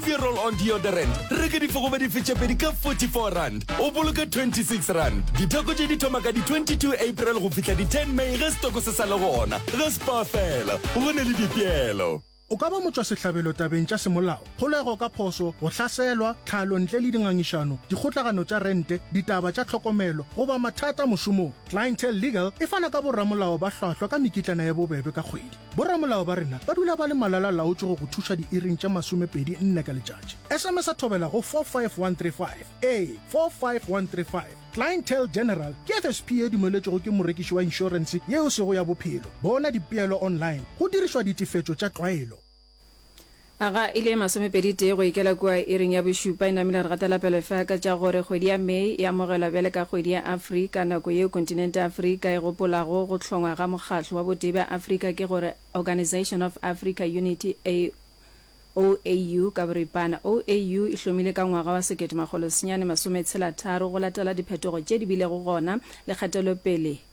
Nivea Roll On Deodorant, reka difogobe dife tše pedi ka R44, o boloke R26. Ditheko tše di thoma ka di 22 April go fihla di 10 May ge setoko se sa le gona. Ge Spar fela, go ne le dipeelo. O ka ba motšwasehlabelo tabeng tša semolao, kgolego ka phošo, go hlaselwa, tlhalo ntle le dingangišano, dikgotlagano tša rente, ditaba tša tlhokomelo, goba mathata mošomong. Clientele Legal e fana ka boramolao ba hlwahlwa ka mekitlana ya bobebe ka kgwedi. Boramolao ba rena ba dula ba le malala-laotšwe go go thuša diiring tše masomepedi nne ka letšatši. SMS-a thobela go 45135. Ee, 45135. Clientele General ke FSP ye dumeletšwego ke morekiši wa inšorense ye e sego ya bophelo. Bona dipeelo online go dirišwa ditefetšo tša tlwaelo. Aga e le masomepedi-tee go ikela kua iring ya bošupa, e namile re gatela pele fa ka tša gore kgwedi ya May e amogelwa bjale ka kgwedi ya Afrika, nako yeo kontinente ya Afrika e gopolago go hlongwa ga Mokgahlo wa Botee bja Afrika ke gore Organisation of Africa Unity, OAU ka boripana. OAU e hlomile ka ngwaga wa sekete-makgolo-senyane masometshela-tharo go latela diphetogo tše di bilego gona le kgatelopele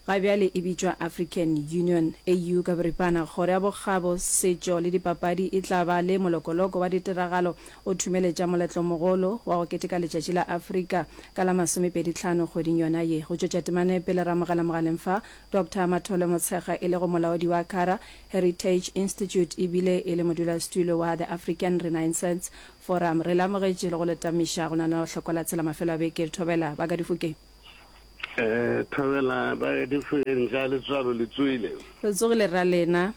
Ga bjale e bitšwa African Union, AU ka boripana. Kgoro ya Bokgabo, Setšo le Dipapadi e tla ba le molokoloko wa ditiragalo o thumeletša moletlomogolo wa go keteka Letšatši la Afrika ka la masomepeditlhano kgweding yona ye. Go tšwetša temana pele re amogela mogaleng fa Doctor Mathole Motshekga e lego molaodi wa Kara Heritage Institute e bile e le modulasetulo wa The African Renaissance Forum. Re le amogetše le go le tamiša go lenaneohlokwa la Tsela mafelo a beke. Thobela ba ka difokeng. Eh, thobela ba difeng ja letswalo le tsoile. Re tsogile ra lena.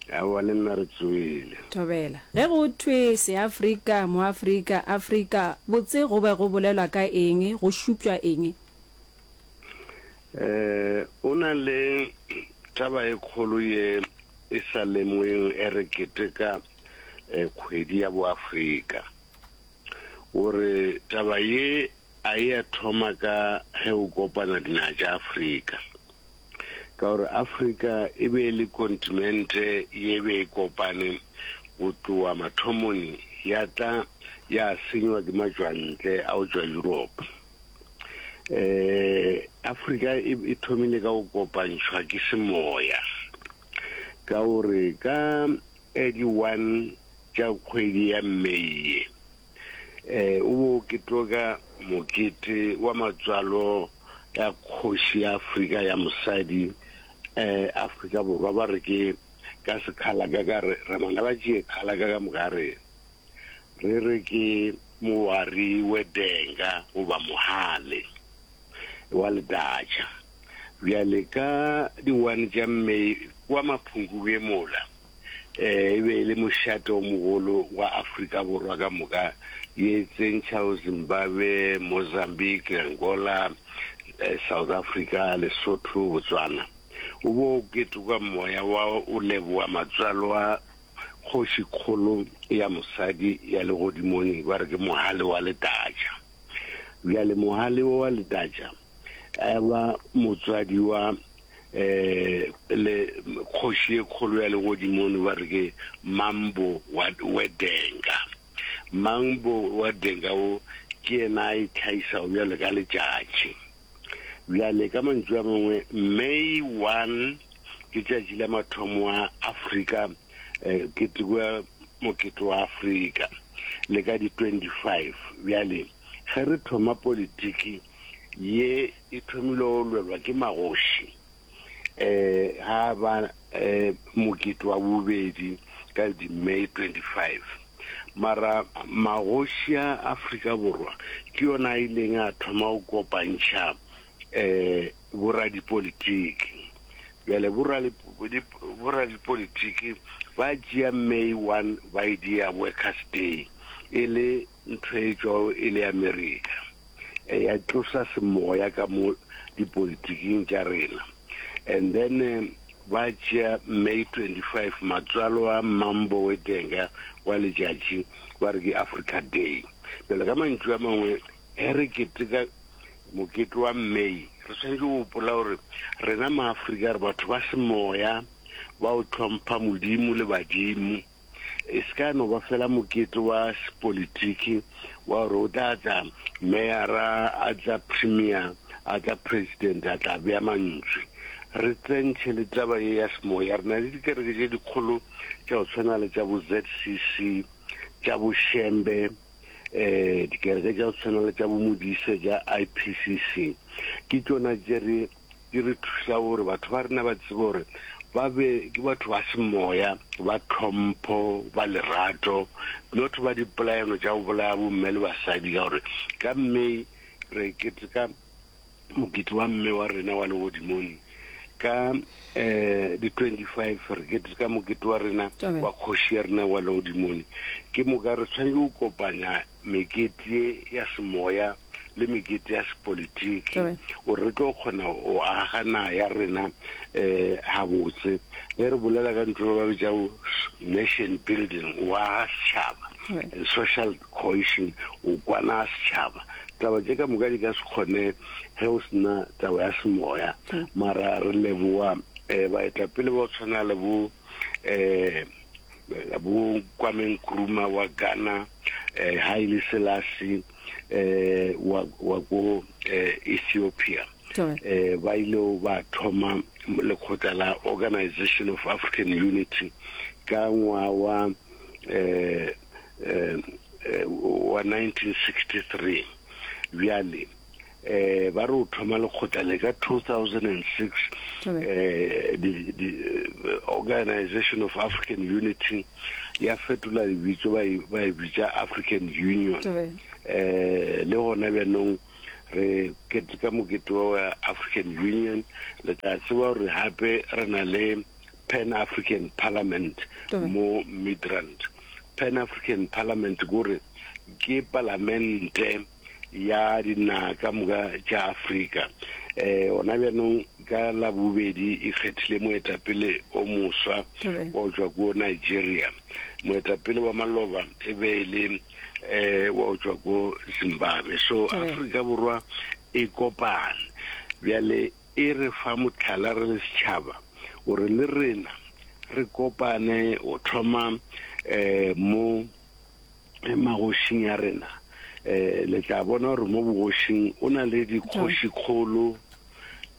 Aowa le nna re tsoile. Thobela. Ge go thwe Seafrika, Moafrika, Afrika, botse go be go bolelwa ka eng, go šupšwa eng? Eh, o na le taba e kgolo ye e sa lemogeng e re keteka eh, kgwedi ya Boafrika. O re taba ye A e a thoma ka ge o kopana dinaga tša Afrika, ka gore Afrika e be e le kontinente ye be e kopane go tloga mathomong ya tla ya senywa ke matšwantle a go tšwa Europe. Eh, Afrika e, e thomile ka go kopantšhwa ke semoya, ka gore ka 31 tša kgwedi ya May ye, Eh, o bo ke tloka mokete wa matswalo ya kgoši ya Afrika ya mosadi eh, Afrika Borwa ba re ke ka sekhalaka ka re re bana ba tšee khalaka ka moka re re re ke mowari wedenga goba mohale wa ledatša bjale ka di-one tša May kwa Maphungubwe mola E be e le mošate o mogolo wa Afrika Borwa ka moka, ye tsentšhago Zimbabwe, Mozambique, Angola, South Africa, Lesotho, Botswana. O be o ketekwa moya wa o leboga matswalo a kgošikgolo ya mosadi ya legodimong ba re ke Mohale wa Letatša. Bjale Mohale wo wa Letatša a ba motswadi wa eh le kgoši e kgolo ya legodimong ba re ke Mambo wa Wedenga. Mambo wa Denga o ke yena a itlhagisago bjalo ka letšatši. Bjale ka mantšu a mangwe May 1 ke tšatši la mathomo a Afrika eh, keteko ya mokete wa Afrika le ka di 25 bjale ge re thoma politiki ye e thomile go lwelwa ke magoši um ga ba um mokete wa bobedi ka di May 25. Mara magoši a Afrika Borwa ke yona a ileng a thoma go kopantšha um boradipolitiki. Bjale boradipolitiki ba tšea May 1 ba e dia Workers Day e le ntho e tšwago e le Amerika. ya tlosa semoya ka mo dipolitiking tša rena and then eh, ba tšea May 25 matswalo a Mambo Wedenga wa letšatši ba re ke Africa Day. Bjale ka mantšu a mangwe ge re keteka mokete wa May re swanetše go gopola gore rena maAfrika re batho ba semoya ba o hlompha Modimo le badimo. E se ka no ba fela mokete wa sepolitiki wa gore o tla tla meyara, a tla premier, a tla president, a tla bea mantswe. Re tsentšhe le taba ye ya semoya. Re na le dikereke tše dikgolo tša go tshwana le tša bo ZCC, tša bo Shembe, um dikereke tša go tshwana le tša bo Modise tša IPCC, ke tšona tše re di re thuša gore batho ba rena ba tsebe gore ba be ke batho ba semoya, ba tlhompho, ba lerato, not ba dipolayano tša go bolaya bomme le basadi, ka gore ka May re keteka mokete wa mme wa rena wa legodimong, ka um di 25 re keteka mokete wa rena wa kgoši ya rena wa legodimong. Ke moka re tshwanetse go kopanya mekete ye ya semoya le mekete ya sepolitiki gore re tlo kgona go aga naga ya rena um gabotse. Ge re bolela ka ntho ba bitšago nation building, o aga setšhaba, and social cohesion, o kwana setšhaba. Taba tše ka moka di ka se kgone ge o sena taba ya semoya. Mara re leboa um baetapele ba go tshwana le bo um bo Kwame Nkrumah wa Ghana, eh, Haile Selassie eh, wa, wa ko eh, Ethiopia eh, ba ile ba thoma lekgotla la Organization of African Unity ka ngwaga wa eh, eh, eh, wa 1963. Bjale eh ba re o thoma lekgotla le ka 2006, eh di, di, Organization of African Unity ya fetola lebitso ba e, ba e bitša African Union. Eh le gona bjanong re keteka mokete wa African Union. Le tla tseba gore gape re na le Pan African Parliament mo Midrand. Pan African Parliament kore ke palamente ya dinaga ka moka tša Afrika. Um gona bjanong ka Labobedi e kgethile moetapele o moswa wa go tšwa ko Nigeria. Moetapele wa maloba e be e le um wa go tšwa ko Zimbabwe. So Afrika Borwa e kopane bjale, e re fa mohlala re le setšhaba gore le rena re kopane go thoma um mo magošing a rena. Um le tla bona gore mo bogošing o na le dikgošikgolo,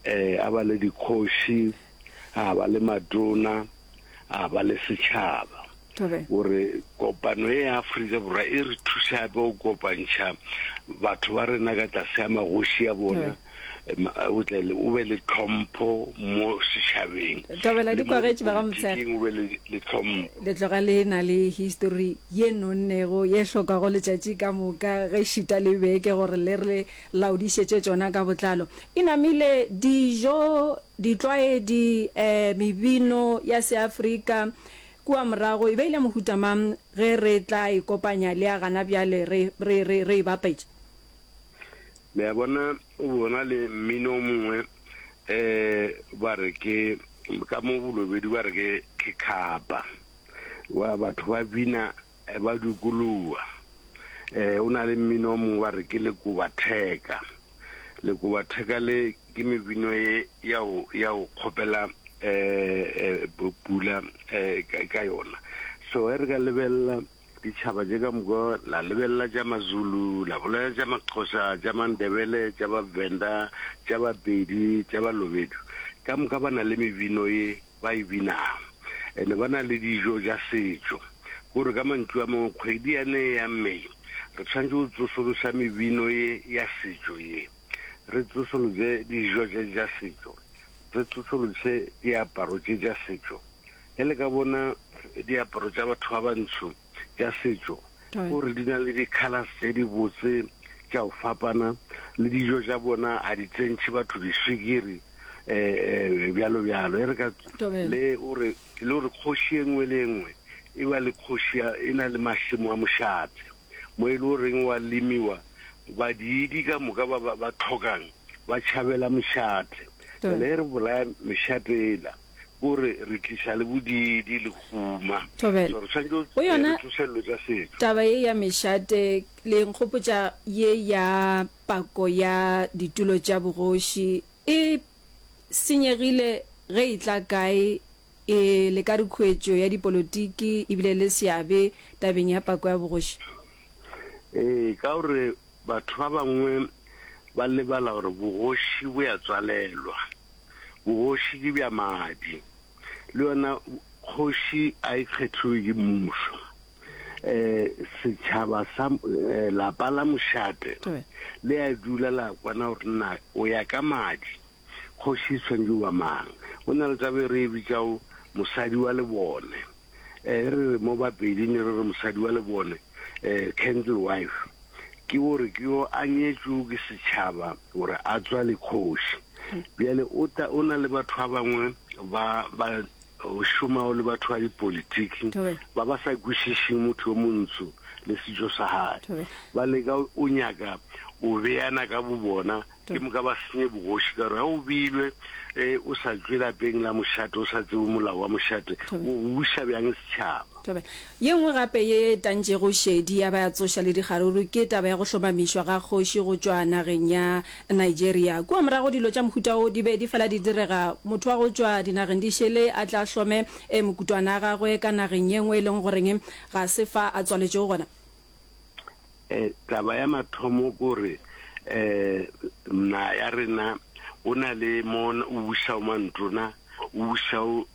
um a ba le dikgoši, a ba le matona, a ba le setšhaba. Gore kopano ye ya Afrika Borwa e re thuša gape go kopantšha batho ba rena ka tlase ga magoši a bona. O tle o be le tlhompho mo setšhabeng. Thobela di kwagetše ba ga Motshekga. O be le tlhompho. Le tloga le na le histori ye nonnego ye hlokago letšatši ka moka ge šita le beke gore le re laodišetše tšona ka botlalo. E namile dijo, ditlwaedi, mebino ya Seafrika kua morago e be e le mohuta mang ge re tla e kopanya le ya gana bjale re, re, re, re e bapetša? Le a bona, o bona le mmino o mongwe, eh, ba re ke, ka mo Bolobedu ba re ke, ke khapa, wa batho ba bina eh, ba dukuluwa. Eh, o na le mmino o mongwe ba re ke lekobatheka. Lekobatheka le ke mebino ye ya go, ya go kgopela eh, eh, pula eh, ka, ka yona. So ge re ka lebelela Ditšhaba tše ka moka, la lebelela tša Mazulu, la bolela tša Maxhosa, tša Mandebele, tša Bavenda, tša Bapedi, tša Balobedu, ka moka ba na le mebino ye ba e binago. Ene ba na le dijo tša setšo. Kore ka mantšu a mangwe, kgwedi yane ya May, re tshwanetše go tsosološa mebino ye ya setšo ye, re tsosološe dijo tše tša setšo, re tsosološe diaparo tše tša setšo. Ge le ka bona diaparo tša batho ba bantsho tša setšo, gore di na le di-colours tše dibotse tša go fapana, le dijo tša bona a di tsentšhe batho diswikiri um bjalo bjalo. E re ka le gore le gore kgoši e nngwe le e nngwe e ba le kgoši e na le mašemo a mošate mo e le goreng wa lemiwa, badiidi ka moka ba ba tlhokang ba tšhabela mošate. Bjale ge re bolaya mešate ela, Kore re tliša le bodiidi le huma. Thobela. So re tshwanetše Go go yona re tsoše dilo tša setšo. taba ye ya mešate, le nkgopotša ye ya pako ya ditulo tša bogoši e senyegile ge e tla kae? E le ka re khuetšo ya dipolotiki e bile le seabe tabeng ya pako ya bogoši? Ee, ka gore batho ba bangwe ba lebala gore bogoši bo ya tswalelwa. Bogoši ke bja madi. Le yona kgoši a e kgethiwe ke mmušo. Um setšhaba sa lapa la mošate le a dula la kwana gore na o ya ka madi kgoši e tshwanetše go ba mang. Go na le taba e re e bitšago mosadi wa lebone. Um re re mo Bapeding re re mosadi wa lebone, um candle wife, ke gore ke yo a nyetšwego ke setšhaba gore a tswale kgoši. Bjale o tla o na le batho ba bangwe ba ba šomago le batho ba dipolitiki ba ba sa kwešišeng motho yo montsho le setšo sa gae. Ba leka o nyaka o beana ka bobona Ke moka ba senye bogoši ka gore ge o beilwe e o sa tšwe lapeng la mošate, o sa tsebe molao wa mošate, o buša bjang setšhaba? Thobela. Ye nngwe gape ye e tantšego šedi ya ba ya tsoša le dikgaruru ke taba ya go hlomamišwa ga kgoši go tšwa nageng ya Nigeria. Kua morago dilo tša mohuta wo di be di fela di direga, motho wa go tšwa dinageng di šele a tle a hlome mokutwana a gagwe ka nageng ye nngwe e leng goreng ga se fa a tswaletšego gona. Taba ya mathomo ke gore naga ya rena o na le mo o bušago mantona, o bušago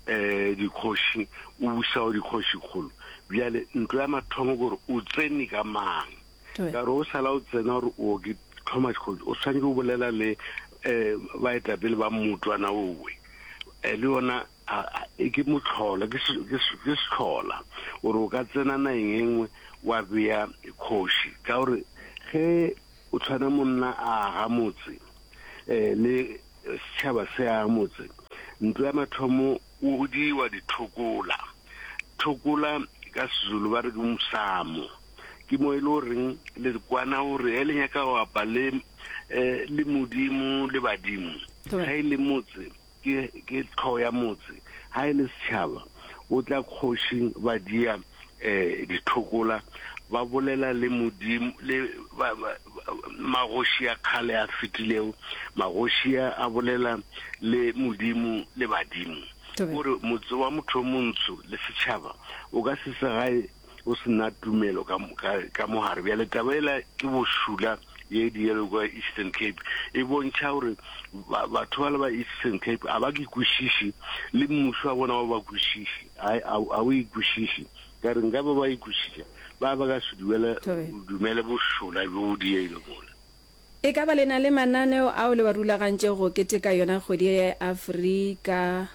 dikgoši, o bušago dikgošikgolo. Bjale ntlo ya mathomo ke gore o tsene ka mang, ka gore o sala o tsena gore o ke thoma dikgoši, o swanetše go bolela le baetapele ba mmotwana owe le yona A, a, ke mohlola, ke, ke, ke sehlola, gore o ka tsena nageng e nngwe wa bea kgoši. Ka gore ge o tshwana monna a aga motse, eh, le setšhaba se aga motse, ntlo ya mathomo o diwa dithokola. Thokola ka Sezulu ba re ke mosamo. Ke mo e le goreng le kwana gore ge le nyaka go apa le, eh, le Modimo le badimo, ge e le motse, Ke, ke tlhogo ya motse. Ha e le setšhaba, o tla kgošing ba dia eh, dithokola, ba bolela le Modimo, le ba, ba, magoši a kgale a fetilego, magoši a a bolela le Modimo le badimo. Gore motse wa motho o montsho le setšhaba o ka se se gae o se na tumelo ka, ka, ka mogare. Bjale taba ela ke bošula ye dielo kwa Eastern Cape e bontšha gore batho ba le ba Eastern Cape a ba ke kwešiše le mmušo wa bona wa ba kwešiše, a o e kwešiše. Ka re nka ba ba e kwešiša ba ba ka se dumele, dumele bošula bjo bo dielo mola. E ka ba le na le mananeo ao le wa rulagantšego go keteka yona kgwedi ye ya Afrika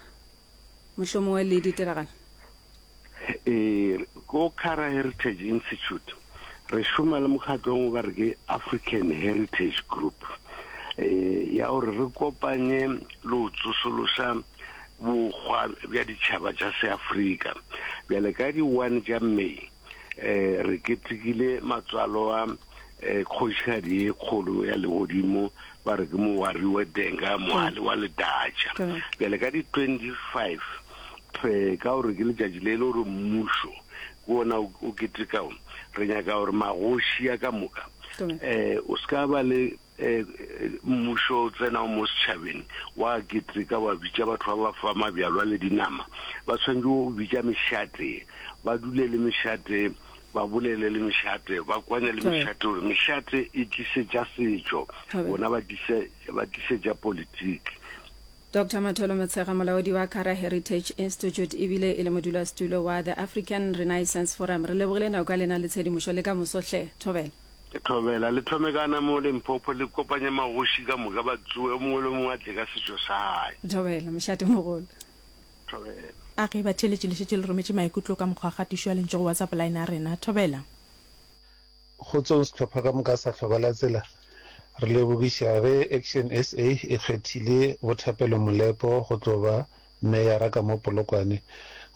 mohlomongwe le ditiragalo? Ee, ko Kara Heritage Institute re šoma le mokgatlong o ba re ke African Heritage Group eh, ya gore re kopanye le go tsosološa bokgwa bja ditšhaba tša Seafrika. Bjale ka di-one tša May eh, re ketekile matswalo a eh, kgošigadi ye kgolo ya legodimo ba re ke Mowari wa Denga Mohale wa Ledatša. Bjale ka di-25 ka gore ke letšatši le e le gore mmušo ke ona o ketekago, re nyaka gore magoši a ka moka um o se ka ba le um mmušo o tsenago mo setšhabeng wa keteka wa bitša batho ba ba fa mabjalwa le dinama, ba tshwanetše go bitša mešate, ba dule le mešate, ba bolele le mešate, ba kwane le mešate gore mešate e tlise tša setšo, bona ba tlise ba tlise tša politiki. Doctor Matholo Motshega, molaodi wa Kara Heritage Institute ebile e le modulasetulo wa The African Renaissance Forum, re lebogile nako ya lena le tshedimošo le ka moso hle. Thobela. Thobela, le thome ka na mo Limpopo le kopanye magoši ka moka ba tsoe, o mongwe le o mongwe a tle ka setšo sa gae. Thobela, mošate mogolo. Thobela. A ge batheeletši le šetše le rometše maikutlo ka mokgwa wa kgatišo ya lentšu go WhatsApp line ya rena. Thobela. Kgotsong sehlopha ka moka sa Hloka la Tsela, re lebogiša ge Action SA e kgethile Bo Thapelo Molepo go tlo ba meyara ka mo Polokwane.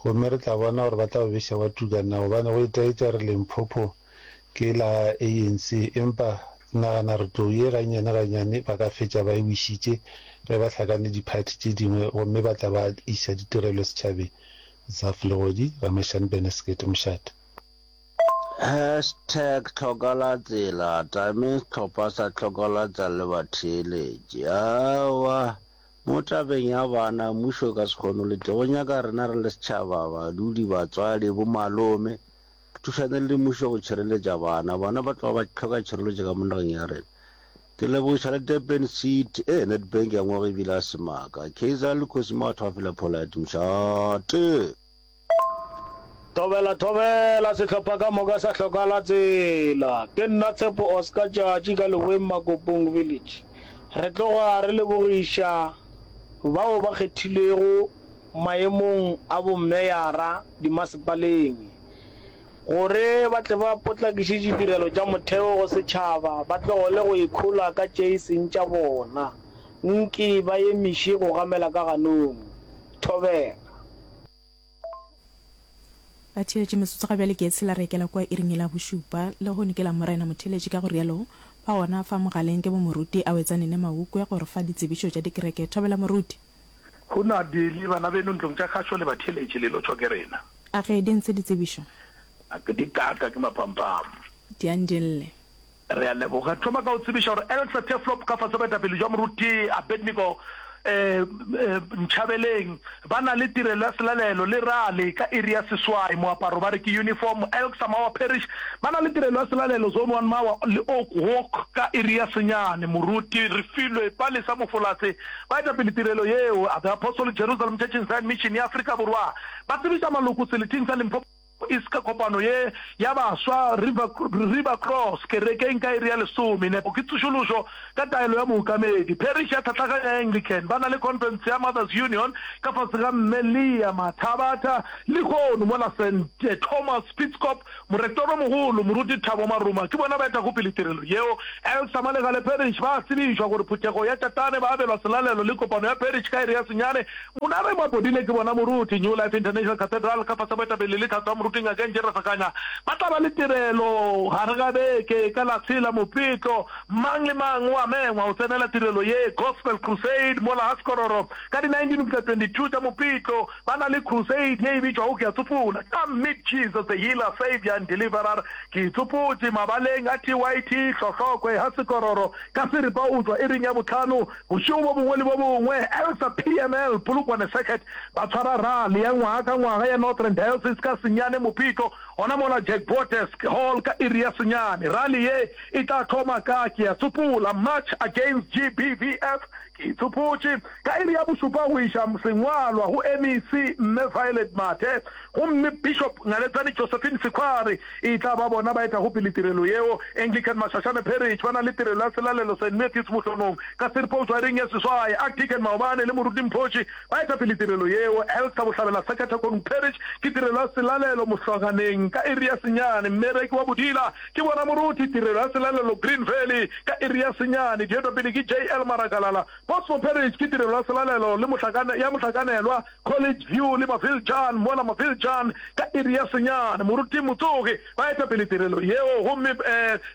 Gomme re tla bona gore ba tla bo beša wa tuka na gobane go itaetša re Limpopo ke la ANC empa ke nagana re tlou ye gannyane gannyane ba ka fetša ba e wišitše ge ba hlakane diphathi tše dingwe gomme ba tla ba iša ditirelo setšhabeng. Zaf Legodi, Ramashane Benesekete Mošate. Hashtag tlhokalatsela, tame sehlopha sa tlhokalatsela le batheeletši. Aowa, mo tabeng ya bana, mmušo o ka se kgone go le tee. Go nyaka rena re le setšhaba, badudi, batswadi, bomalome, re thušane le mmušo go tšhireletša bana. Bana ba tloga ba hloka tšhireletšo ka mo nageng ya rena. Ke lebogiša le Durban City, eh, Nedbank ya ngwaga ebile a se maaka. Kaizer le Khosi Mathwa Phela Polite, mošate. Thobela thobela sehlopha ka moka sa hlokala tsela. Ke nna Tshepo Oscar Tšatši ka Leboeng Makopong Village. Re tloga re lebogiša bao ba kgethilwego maemong a bommeyara dimasepaleng gore ba tle ba potlakiše ditirelo tša motheo go setšhaba ba tlogele go ikhola ka tše e seng tša bona. Nke ba emiše go gamela ka ganong. Thobela. Batheeletši, metsotso ga bjale ke e tshela re ekela kua iring yela ya bošupa. Lehono ke Lamorena, motheeletši ka go rialo ba gona fa mogaleng ke bo Moruti Awetsane Nemaukwe go re fa ditsebišo tša dikereke. Thobela Moruti. Hunadi le bana beno ntlong tša kgašo le batheeletši le lotšhwa ke rena. A ge di ntshe ditsebišo. A ke di kaka ke maphampam. Di a ndille. Re a leboga. Thoma ka go tsebiša gore Elsa Turfloop ka fase boetapele jwa Moruti Abednego Nchabeleng ba na le tirelo ya selalelo le rally ka iri ya seswai. Moaparo ba re ke uniform. Elsa Mawa Parish ba na le tirelo ya selalelo Zone One Mawa le Oak Walk ka iri ya senyane. Moruti Refilwe Palesa Mofolatse ba etapele tirelo yeo. The Apostolic Jerusalem Church in Zion Mission ya Afrika Borwa ba tsebiša maloko seleteng sa Limpopo East ka kopano ye ya baswa River, River Cross kerekeng ka iri ya lesome. Nepo ke tsošološo ka taelo ya mookamedi. Parish ya Tlhatlhaganyo ya Anglican ba na le conference ya Mothers Union ka fase ga Mme Leah Mathabatha lehono mola Saint Thomas Spitzkop Morektoromogolo Moruti Thabo Maruma ke bona ba etago pele tirelo yeo. Elsa Malegale Parish ba a tsebišwa gore phuthego ya Tšatane ba abelwa selalelo le kopano ya parish ka iri ya senyane Monare Mapodile ke bona moruti, New Life International Cathedral, ka fase boetapele le tlhahlo ya moruti Ngaka Nje Rasakanya, ba tla ba le tirelo gare ga beke ka la tshela Mopitlo. Mang le mang o a mengwa go tsenela tirelo ye. Gospel Crusade mola ga Sekororo ka di 19 go fihla 22 tša Mopitlo ba na le crusade ye e bitšwago Ke a Tsopola, Come Meet Jesus the Healer, Saviour and Deliverer. Ke itsopotše mabaleng a TYT Hlohlokwe ga Sekororo ka seripa go tšwa iring ya bohlano Bošego bo bongwe le bo bongwe, Elsa PML, Polokwane Circuit, ba tshwara rally ya ngwaga ka ngwaga ya Northern Diocese ka senyane Mopitlo, gona mola Jack Botes Hall ka iri ya senyane. Rally ye e tla thoma ka, ke a tsopola, March Against GBVF, ke itsopotše, ka iri ya bošupa go iša sengwalwa go MEC Mme Violet Mathe. Gomme Bishop Ngaletsane Josephine Sekhwari e tla ba bona ba etago pele tirelo yeo. Anglican Mashashane Parish ba na le tirelo ya selalelo Saint Matthew's Mohlonong ka seripa go tšwa iring ya seswai. Archdeacon Maobane le Moruti Mphoši ba eta pele tirelo yeo. Elsa Bohlabela Sakathakonung Parish ke tirelo ya selalelo Mohlwaganeng ka iri ya senyane. Mmereki wa Bodila ke bona Moruti tirelo ya selalelo Green Valley ka iri ya senyane. Di etwa pele ke JL Marakalala. Bosmo Parish ke tirelo ya selalelo le mohlakane ya mohlakanelwa College View le Maviljan mola Maviljan ka iri ya senyane. Moruti Motsogi ba eta pele tirelo yeo gomme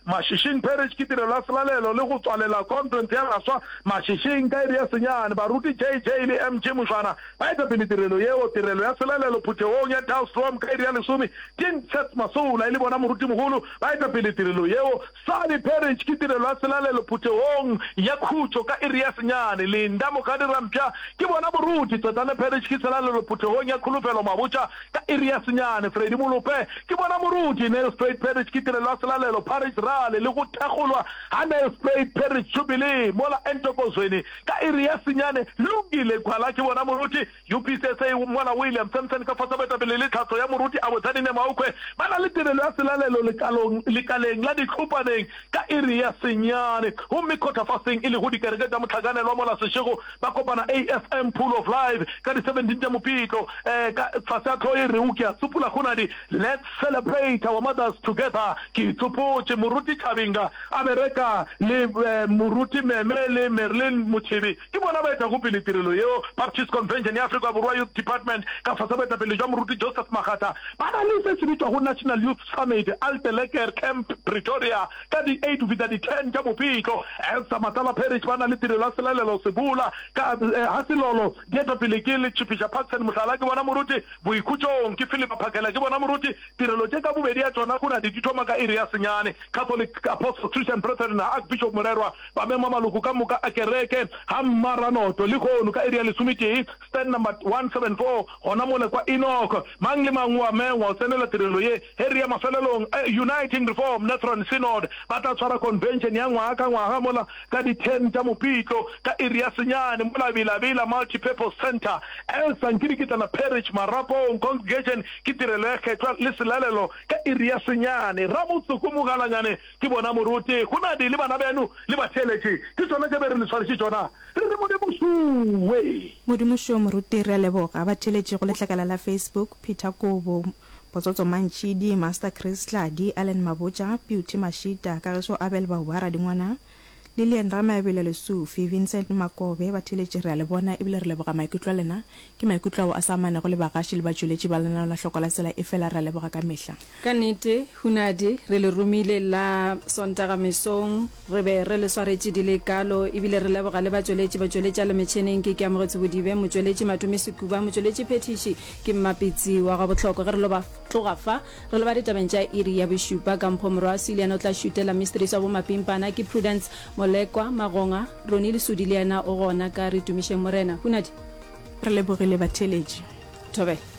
Mashishing Parish ke tirelo ya selalelo le go tswalela conference ya baswa Mashishing ka iri ya senyane. Baruti JJ le MG Mošwana ba eta pele tirelo yeo. Tirelo ya selalelo phuthegong ya Dullstroom ka iri ya lesome. King Seth Masola e le bona morutimogolo ba eta pele tirelo yeo. Sally Parish ke tirelo ya selalelo phuthegong ya khutšo ka iri ya senyane. Linda Mokgadi Rampša ke bona moruti. Tswetane Parish ke selalelo phuthegong ya Kholofelo Mabotja ka iri ya senyane. Freddy Molope ke bona moruti. Nelspruit Parish ke tirelo ya selalelo Parish Rally le go thakgolwa ga Nelspruit Parish Jubilee mola Entokozweni ka iri ya senyane. Lungile Gwala ke bona moruti. UPCSA mola William Sampson ka fase boetapele le tlhahlo ya moruti Abotsane Nemaukwe ba na le tirelo ya selalelo lekalong lekaleng la Ditlhopaneng ka iri ya senyane gomme quarter fasting e lego dikereke tša mohlakanelwa mola Seshego ba kopana AFM Pool of Life ka di 17 tša Mopitlo eh, ka fase ga hlogo e rego Ke a Tsopola Kgonadi Let's Celebrate Our Mothers Together Ke itsopotše Moruti Chabinga a bereka le eh, Moruti Meme le Merlin Mothibi Ke bona ba etago pele tirelo yeo. Baptist Convention ya Afrika Borwa Youth Department ka fase boetapele jwa Moruti Joseph Makgatha ba na le se se bitšwago National Youth Summit Alteleker Camp Pretoria ka di eight go fihla di ten tša Mopitlo. Elsa Matlala Parish ba na le tirelo ya selalelo Sebola ka ga Selolo di etwa pele ke Letšhipiša Parkson Mohlala ke bona Moruti Boikhutšong ke Philip Phakela ke bona Moruti Tirelo tše ka bobedi ya tšona go na di thoma ka iri ya senyane. Catholic Apostle Christian Brethren na Archbishop Morerwa ba mema maloko ka moka a kereke ga Mmaranoto lehono ka iri ya lesometee, stand number 174, gona mole kwa Enoch. Mang le mang o a mengwa go tsenela tirelo ye. Ge re ya mafelelong, Uniting Reform Lutheran Synod ba tla tshwara convention ya ngwaga ka ngwaga mola ka di 10 tša Mopitlo ka. Ka iri ya senyane mola Bela-Bela Multi-Purpose Centre, Elsa Nkirikitlana Parish, Marapong Congregation ke tirelo ya kgethwa le selalelo ka iri ya senyane. Rabotsoko Mogalanyane ke bona moruti, Hunadi le bana beno le batheeletši ke tšona tše be re le swaretše tšona. Re re Modimo šuwe! Modimo šo moruti re a leboga. Batheeletši go letlakala la Facebook, Peter Kobo, Botsotso Mantšhidi, Master Chris Tladi, Allen Mabotja, Beauty Mashita, Kagiso Abel Bauba Radingwana, Lillian Ramaebelo Lesufi, Vincent Makobe, Batheeletši re a le bona ebile re leboga maikutlo a lena. Ke maikutlo ao a sa amanego le bagaši le batšweletši ba lenaneo la Hloko la Tsela efela re a leboga ka mehla. Ka nnete, Hunadi, re le romile la Sontaga mesong, re be re le swaretše di le kalo, ebile re leboga le batšweletši, batšweletši a le metšheneng ke Keamogetse Bodibe, motšweletši Matome Sekuba, motšweletši phethiši ke Mmapitsi wa Gabohlokwa. Ge re lo ba tloga fa, Re leba ditabeng tša iri ya bošupa ka Mpho Morwasi, le yena o tla šutela Mysteries wa bomapimpana ke Prudence Molekwa Magonga, Ronnie Lesudi le yena o gona ka Re Tumišeng Morena. Hunadi. Re lebogile batheeletši. Thobela.